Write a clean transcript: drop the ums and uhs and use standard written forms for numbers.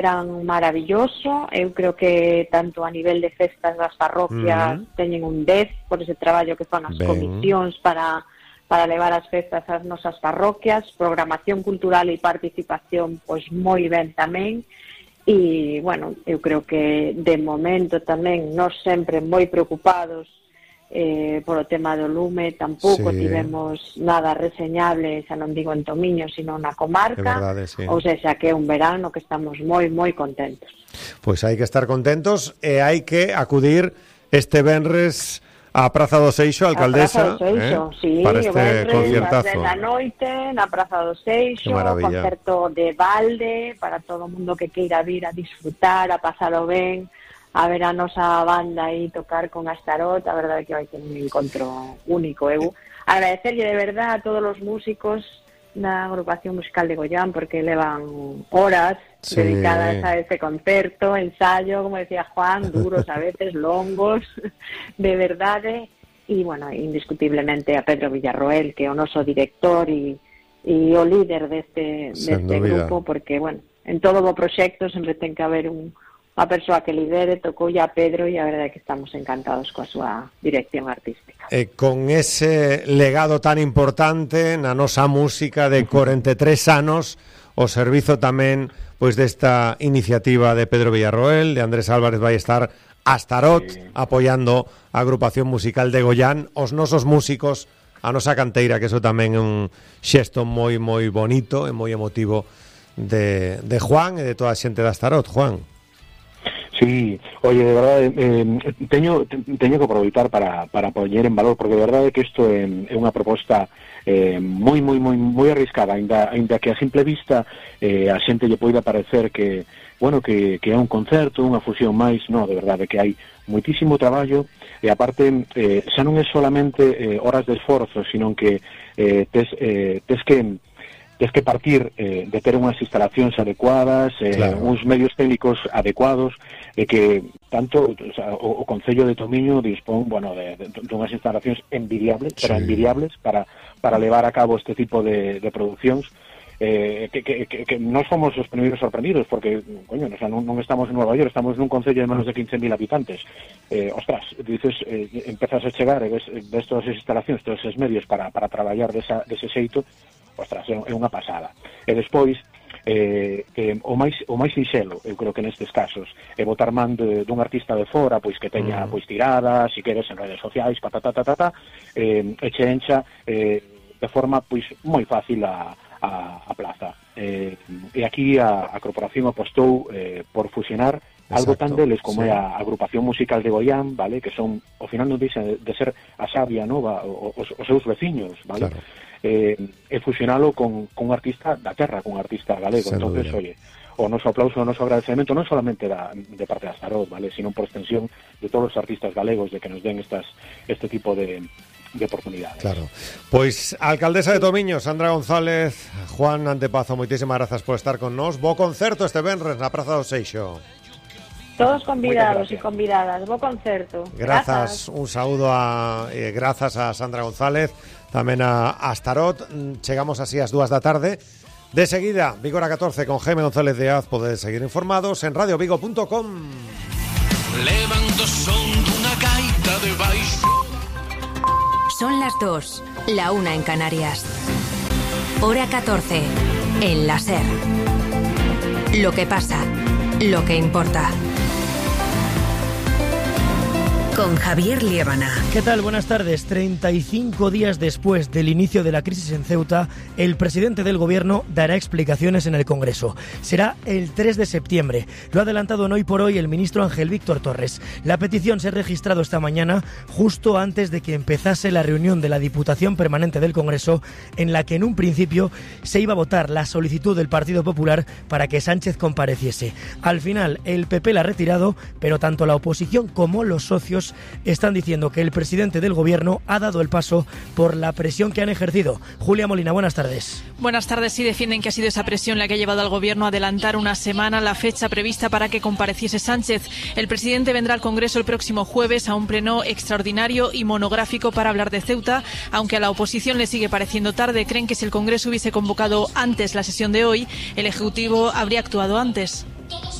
verán maravilloso. Eu creo que tanto a nivel de festas das parroquias teñen un 10 por ese traballo que fan as comisións para levar as festas ás nosas parroquias, programación cultural e participación pois moi ben tamén. E, bueno, eu creo que de momento tamén nós sempre moi preocupados por o tema do lume, tampouco tivemos nada reseñable, xa non digo en Tomiño, sino na comarca, ou seja, que é un verano que estamos moi, moi contentos. Pois hai que estar contentos e hai que acudir este venres a Praza do Seixo, alcaldesa, sí, para este concertazo. A da noite, na Praza do Seixo, concerto de balde, para todo o mundo que queira vir a disfrutar, a pasalo ben, a ver a nosa banda aí tocar con Astarot. A verdade é que vai ter un encontro único. Eu agradecerlle de verdade a todos os músicos da agrupación musical de Goián, porque levan horas dedicadas a este concerto, ensayo, como decía Juan, duros a veces, longos, de verdade. E, bueno, indiscutiblemente a Pedro Villarroel, que é o noso director e o líder deste grupo, porque, bueno, en todo o proxecto sempre ten que haber a persoa que lidere. Tocou a Pedro e a verdade é que estamos encantados coa súa dirección artística. Con ese legado tan importante na nosa música de 43 anos, o servizo tamén pois desta iniciativa de Pedro Villarroel, de Andrés Álvarez vai estar Astarot apoiando a agrupación musical de Goián, os nosos músicos, a nosa canteira, que eso tamén é un xesto moi moi bonito e moi emotivo de Juan e de toda a xente de Astarot. Juan. Sí, oye, de verdade, teño que aproveitar para poñer en valor, porque de verdade que isto é unha proposta moi arriscada, ainda que a simple vista a xente lle poida parecer que, bueno, que é un concerto, unha fusión máis. No, de verdade que hai moitísimo traballo, e aparte xa non é solamente horas de esforzo, sino que tes que partir de ter unhas instalacións adecuadas, uns medios técnicos adecuados, e que tanto o Concello de Tomiño dispón, bueno, de unhas instalacións envidiables para levar a cabo este tipo de produccións, que non somos os primeiros sorprendidos, porque, coño, non estamos en Nueva York, estamos nun concello de menos de 15.000 habitantes. Ostras, dices, empezas a chegar e ves todas as instalacións, todos os medios para traballar dese xeito. Ostras, é unha pasada. E despois, o máis sinxelo, eu creo que nestes casos, é botar man dun artista de fora, pois que teña pois tiradas, si queres, en redes sociais, e che encha de forma pois moi fácil a plaza. E aquí a corporación apostou por fusionar algo tan deles como é a agrupación musical de Goián, vale, que son, ao final non deixa de ser a Xavia Nova, os seus veciños, vale? Claro. E fusionalo con un artista da terra, con un artista galego. Entonces, oye, o noso aplauso, o noso agradecemento non solamente de parte da Astarot, vale, sino por extensión de todos os artistas galegos de que nos den este tipo de oportunidades. Claro. Pois a alcaldesa de Tomiño, Sandra González, Juan Antepazo, moitísimas grazas por estar con nós. Bo concerto este venres na Praza do Seixo. Todos convidados e convidadas, bo concerto. Grazas, un saúdo grazas a Sandra González, tamén a Astarot. Chegamos así ás 2 da tarde. De seguida, Vigor a 14 con Jaime González Díaz. Podedes seguir informados en radiovigo.com. Levanto son dunha gaita de baixo. Son las 2, la 1 en Canarias. Hora 14, en la SER. Lo que pasa, lo que importa. Con Javier Liébana. ¿Qué tal? Buenas tardes. 35 días después del inicio de la crisis en Ceuta, el presidente del gobierno dará explicaciones en el Congreso. Será el 3 de septiembre. Lo ha adelantado en Hoy por Hoy el ministro Ángel Víctor Torres. La petición se ha registrado esta mañana, justo antes de que empezase la reunión de la Diputación Permanente del Congreso, en la que en un principio se iba a votar la solicitud del Partido Popular para que Sánchez compareciese. Al final, el PP la ha retirado, pero tanto la oposición como los socios están diciendo que el presidente del gobierno ha dado el paso por la presión que han ejercido. Julia Molina, buenas tardes. Buenas tardes. Sí, defienden que ha sido esa presión la que ha llevado al gobierno a adelantar una semana la fecha prevista para que compareciese Sánchez. El presidente vendrá al Congreso el próximo jueves a un pleno extraordinario y monográfico para hablar de Ceuta, aunque a la oposición le sigue pareciendo tarde. Creen que si el Congreso hubiese convocado antes la sesión de hoy, el Ejecutivo habría actuado antes.